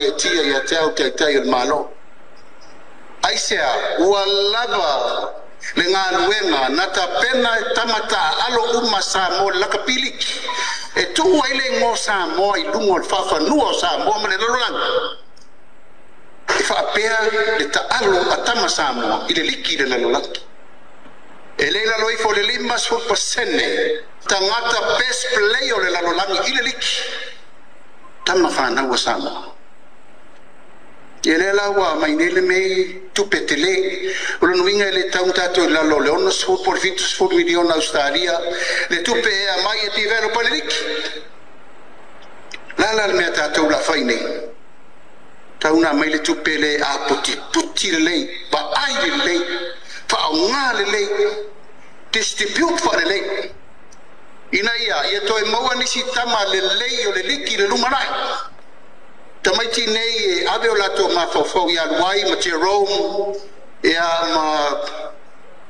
faagaeetia ia te au Taitai o le Malo. Aisea ua lava le galuega na tapena e tama taaalo uma Samoa o le lakapi liki e tuu ai le igoa o Samoa i luga o le faafanua o Samoa ma le lalolagi e faapea le taalo a tama Samoa i le liki i le lalolagi. E le i lalo ifo o le 50% tagata best player o le lalolagi i le liki tama fanau a Samoa. Ia lea la ua aumai nei le mei tupe tele. O lona uiga e le tatau ona tatou i lalo o le 60 po o le 70 miliona Ausetalia le tupe e aumai e develop ai le liki. O le a la le mea tatou o le a fai nei? Tau ona aumai le tupe lea e aputiputi lelei, vaai lelei, faaaoga lelei, distribute faalelei ina ia toe maua nisi tama lelei o le liki i le lumanai. Tamaiti nei e ave o latou mafaufau ia Luai ma Jerome ia ma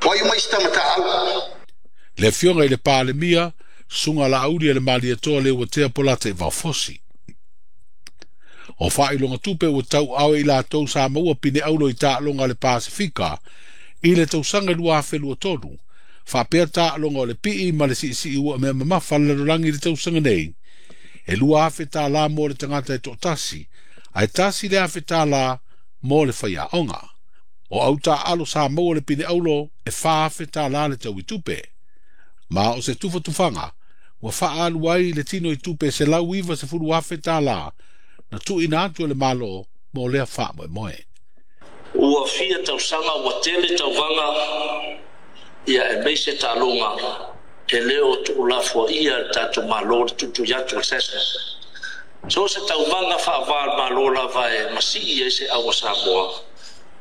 o ai uma isi tama taaalo. Le Afioga i le Palemia, Susuga Laauli a le Malietoa Leuatea Polataivao Fosi. O faailoga tupe ua tauaaoe i latou sa maua pine auro i taaloga a le Pasefika i le tausaga 2023, faapea taaloga o le pii ma le siisii ua mea mamafa a le lalolagi i le tausaga nei, e $2,000 mo le tagata e toatasi, ae $1,000 mo le faiaoga. O au taaalo sa maua le pine auro e $4,000 le tau i tupe. Ma o se tufatufaga ua faaalu ai le tino i tupe $190,000 na tuuina atu e le Malo mo lea faamoemoe. Ua fia tausaga ua tele tauvaga ia aemaise taaloga e le o tuulafoaia e le tatou Malo le tuitui atu o le SASNOC. So o se tauvaga faava o le Malo lava e masii ai se au a Samoa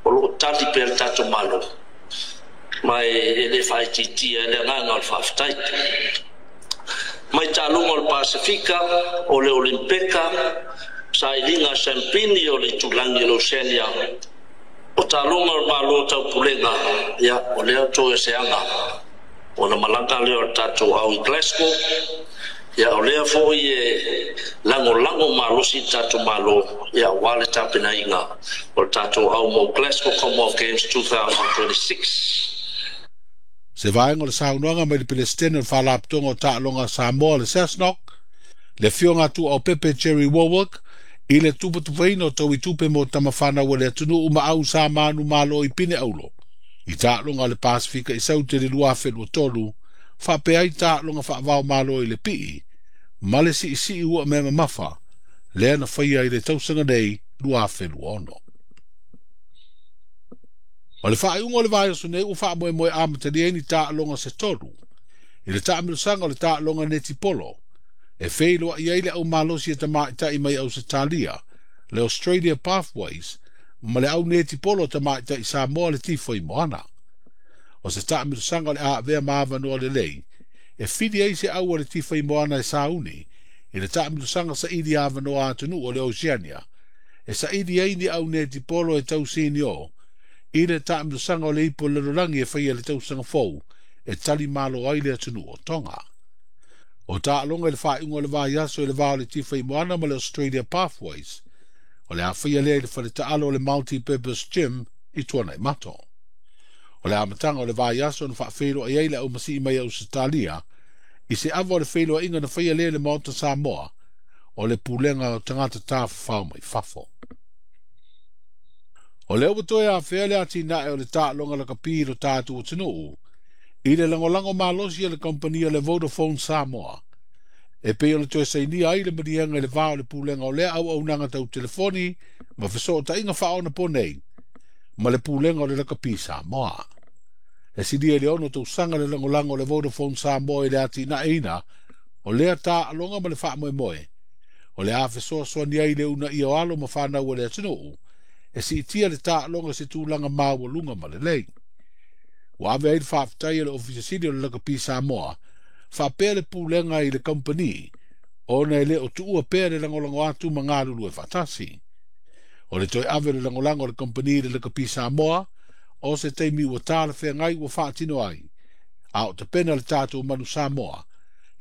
o loo tali pea le tatou Malo ma e le faaitiitia ai le agaga o le faafetai. Mai taaloga o le Pasefika, o le Olimpeka, sailiga sampini o le itulagi o le Oceania, o taaloga o le Malo Taupulega, ia o lea toe se aga ona malaga lea o le tatou au i Glasgow, ia o lea foi e lagolago malosi le tatou Malo ia aua le tapenaina o le tatou au mo Glasgow Commonwealth Games 2026. Se vaega o le saunoaga mai le Peresetene o le Faalapotopotoga o Taaloga a Samoa le SASNOC, le Afioga a Tuuaupepe Jerry Warwick, i le tufatufaina o taui tupe mo tama fanau a le atunuu ma au sa manumalo i pine auro i taaloga a le Pasefika i Saute i le 2023, faapea ai taaloga faavao malo i le pii ma le siisii ua mea mamafa lea na faia i le tausaga nei 2026. O le faaiuga o le vaiaso nei ua faamoemoe amatalia ai ni taaloga se tolu i le taamilosaga o le taaloga netipolo e feiloai ai le aumalosi e tamaitai mai Ausetalia, le Australia Pathways, ma le au netipolo tamaitai Samoa le Tifai Moana. O se taamilosaga o le avea ma avanoa lelei e fili ai se au a le Tifai Moana e sauni i le taamilosaga saili avanoa atunuu o le Oceania e saili ai ni au netipolo e tau senior i le taamilosaga o le ipu o le lalolagi e faia le tausaga fou e tali malo ai le atunuu o Tonga. O taaloga i le faaiuga o le vaiaso i le va o le Tifai Moana ma le Australia Pathways o le a faia lea i le faletaalo o le Multi-Purpose Gym i Tuanaimato. O le amataga o le vaiaso na faafeiloai ai le aumasii mai Ausetalia i se ava o le feiloaiga na faia lea i le Maota Samoa o le pulega o tagata tafafao mai fafo. O lea ua toe afea le atinae o le taaloga lakapi i lo tatou atunuu i le lagolago malosi a le kamupani le Vodafone Samoa e pei o le toe sainia ai le maliega i le va o le pulega o lea auaunaga tau telefoni ma fesootaiga faaonaponei ma le pulega o le lakapi Samoa. E silia i le 6 tausaga le lagolago o le Vodafone Samoa i le atinaeina o lea taaloga ma le faamoemoe o le a fesoasoani ai le uunaia o alo ma fanau a le atunuu e siitia le taaloga se tulaga maualuga ma lelei. Ua ave ai le faafetai a le Ofisa Sili o le Lakapi Samoa faapea le pulega i le kamupani ona e le o tuua pea le lagolago atu ma galulue faatasi. O le toe ave o le lagolago a le kamupani i le Lakapi Samoa o se taimi ua talafeagai ua faatino ai a o tapena le tatou manu Samoa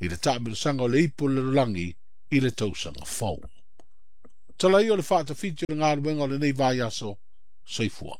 i le taamilosaga o le ipu o le lalolagi i le tausaga fou. Tala ia o le faatafiti o le galuega o lenei vaiaso. Soifua.